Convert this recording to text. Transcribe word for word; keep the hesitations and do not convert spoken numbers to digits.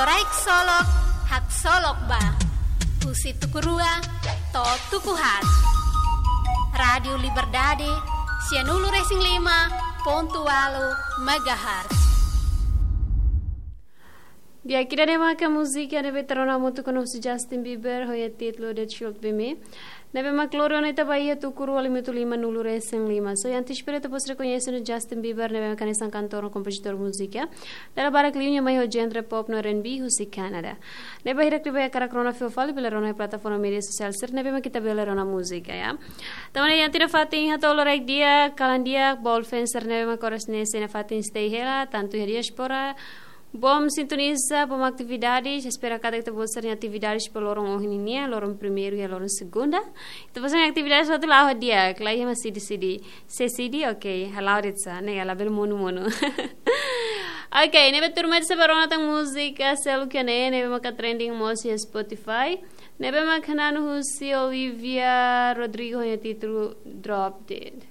Loraik Solok, Haksolok Ba. Husi tuku rua to'o tuku haat. Rádiu Liberdade, sianulu-resin-lima pontu ualu megahertz. Di'ak, ida-ne'e maka múzika ne'ebé ita rona hamutuk ho Justin Bieber, ho nia títulu The Truth Be Me. Ne'ebé mak lori ona ita ba iha tuku rua limitu lima-nulu-resin-lima. So, antes para ita bos rekoñese ona Justin Bieber, ne'ebé mak hanesan kantór no kompozitór múzika. Dala barak liu nia mai ho genre pop no R and B husi Kanadá. Ne'ebé bainhira ita bele hakarak rona fila fali, bele rona iha plataforma média sosiál sira ne'ebé mak ita bele rona múzika, ya. Tanba ne'e iha tiha ona fatin hato'o loraik di'ak, kalan di'ak, ba all fans sira ne'ebé mak oras ne'e sei iha fatin stay hela, tantu iha diáspora, bom sintoniza, bom atividades, espera katak ita-boot sira-nia atividades ba loron ohin nian, loron primeiru iha loron segunda. Ita-boot sira-nia atividades hotu la'o di'ak, la iha mak sidi-sidi. Se sidi, ok, hala'o de'it sá, ne'e labele monu-monu. Ok, ne'ebé tuirmai ita sei bá rona tan múzika seluk iha ne'e, ne'ebé maka trending mós iha Spotify. Ne'ebé mak hanan husi Olivia Rodrigo ho nia títulu Drop Dead.